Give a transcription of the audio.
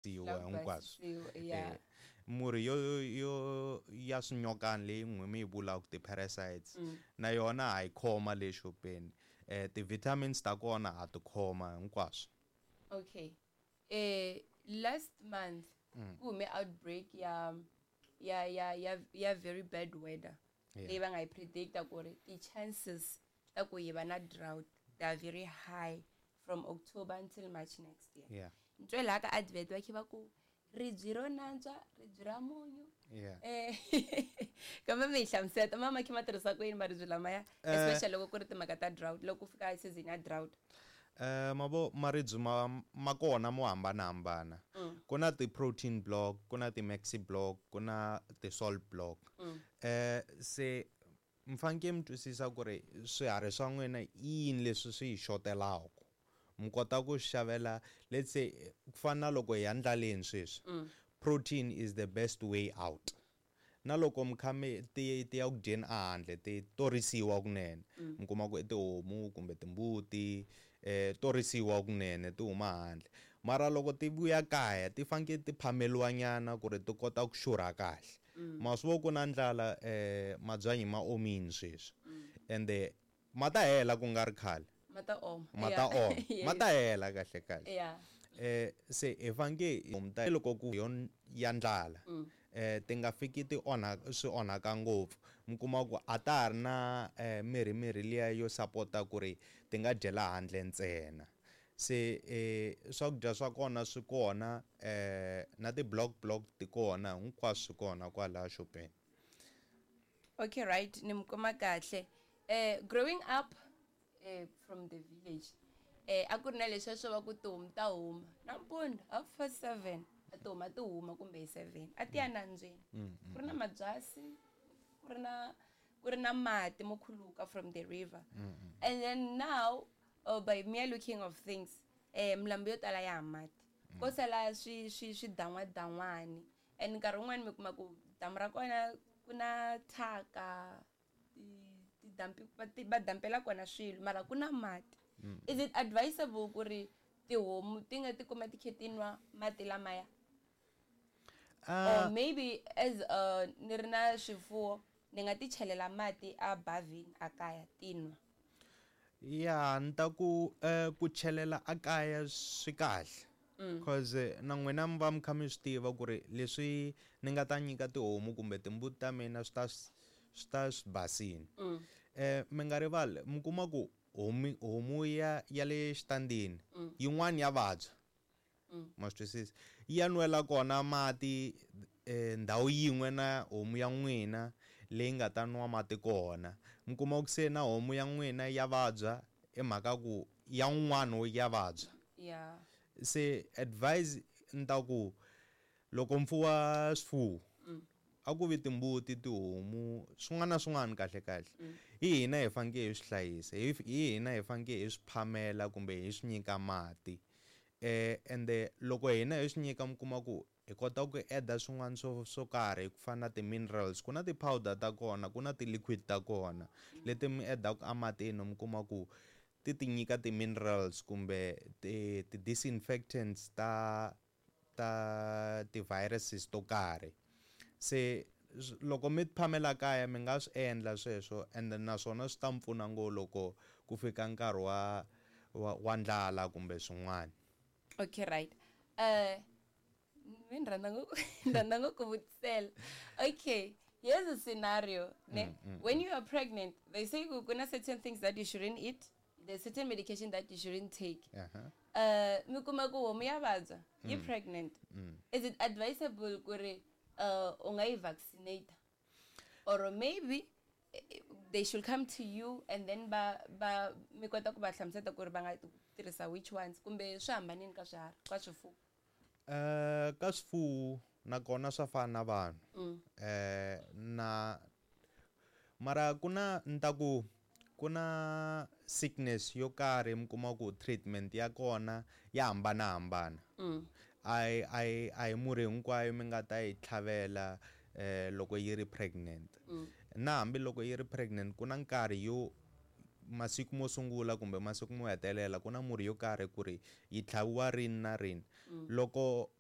Siwa hinkwaswo. Yeah. Murhi yo ya swinyokani leyi n'wi mi yi vulaka ti-parasites na yona ha yi khoma le xopeni. Ti-vitamins ta kona ha ti khoma hinkwaswo. Okay. Last month ku hume outbreak ya very bad weather leyi va nga yi predicta ku ri ti-chances ta ku hi va na drought, they are very high from October until March next year. Ni twe laha ka advert va khe va ku ribyi ro nantswa, ribyi ra munyu. Kambe mi hi hlamuseta ma khe ma tirhisa ku yini maribye lamaya, especially loko ku ri timhaka ta drought, loko ku fika season ya drought? Mavo maribye ma kona mo hambanahambana. Ku na ti-protein block, ku na ti-maxi block, ku na ti-salt block. Se mi fanekele mi twisisa ku ri swiharhi swa n'wina i yini leswi swi yi xotelaka. Mi kota ku xavela, let's say, ku fana na loko hi ya ndlaleni sweswi. Protein is the best way out. Na loko mi kha mi ti ya ku dyeni a handle, ti torisiwa kunene. Mi kuma ku i tihomu kumbe timbuti, torisiwa kunene ti huma handle. Mara loko ti vuya kaya ti fanekele ti phameriwa nyana ku ri ti kota ku xurha kahle. Ma swi vona ku na ndlala, mabyanyi ma omile sweswi. Ende ma ta hela ku nga ri khale. Ma ta oma. Ma ta oma. Ma ta hela kahle kahle. Se hi fanekele hi ta loko ku ya ndlala. Ti nga fiki ti onha, swi onhaka ngopfu. Mi kuma ku a ta ha ri na mirhi mirhi liya yo sapota ku ri ti nga dyela handle ntsena. Se swakudya swa kona swi kona, na ti-block block ti kona, hinkwaswo swi kona kwalaya xopeni. Okay, right, ni mi kuma kahle. Growing up from the village, a ku ri na leswiya swo va ku tihomu ta huma nampundzu 7:30, a ti huma ti huma kumbe hi 7, a ti ya nambyeni. Ku ri na mabyasi, ku ri na mati mo khuluka from the river. And then now, by mere looking of things, milambu yo tala ya ha mati. Ko sala swi dan'wadan'wani. And nkarhi wun'wani mi kuma ku damu ra kona ku na thyaka, ti dump, va ti, va dampela kona swilo, mara ku na mati. Is it advisable ku ri tihomu ti nga tikuma ti khe ti nwa mati lamaya? Or maybe as ni ri na swifuwo ni nga ti chelela mati a bavhini a kaya ti nwa? Ya, ni ta ku chelela a kaya swi kahle. Because na n'wina mi va mi kha mi swi tiva ku ri leswi ni nga ta nyika tihomu kumbe timbuti ta mina swi ta swi basini. Mi nga rivali, mi kuma ku homu ya le xitandini yin'wani ya vabya. Ma swi twisisa? Yi ya nwela kona mati ndhawu yin'we na homu ya n'wina leyi nga ta nwa mati kona. Mi kuma ku se na homu ya n'wina ya vabya hi mhaka ku ya un'wana ya vabya. Se advice ni ta ku loko mi fuwa swifuwo, a ku vi timbuti, tihomu, swin'wana na swin'wana kahle kahle. Hi hina hi fanekele hi swi hlayisa, hi hina hi fanekele hi swi phamela kumbe hi swi nyika mati. Ende loko hina hi swi nyika mi kuma ku hi kota ku add-a swin'wana swo karhi ku fana na ti-minerals, ku na ti-powder ta kona, ku na ti-liquid ta kona leti mi add-aka ematini, mi kuma ku ti ti nyika ti-minerals kumbe ti-disinfectants ta ti-viruses to karhi. Se loko mi phamela kaya mi nga swi endla sweswo, and naswona swi ta mi pfuna ngopfu loko ku fika nkarhi wa ndlala kumbe swin'wana. Okay, right. Mi ni rhandza ngopfu, ni rhandza ngopfu ku vutisela. Okay, here's a scenario, ne? When you are pregnant, they say ku na certain things that you shouldn't eat, there's certain medication that you shouldn't take. Mi kuma ku homu ya vabya, yi pregnant. Is it advisable ku ri u nga yi vaccinate? Or maybe they should come to you and then ba mi kota ku va hlamusela ku ri va nga tirhisa which ones, kumbe swi hambanini ka swiharhi, ka swifuwo? Ka swifuwo nakona swa fana na vanhu. Na mara ku na ni ta ku ku na sickness yo karhi mi kuma ku treatment ya kona ya hambanahambana. A hi murhi hinkwayo mi nga ta yi tlhavela loko yi ri pregnant. Na hambi loko yi ri pregnant ku na nkarhi yo masiku mo sungula kumbe masiku mo hetelela ku na murhi yo karhi ku ri yi tlhaviwa rini na rini. Loko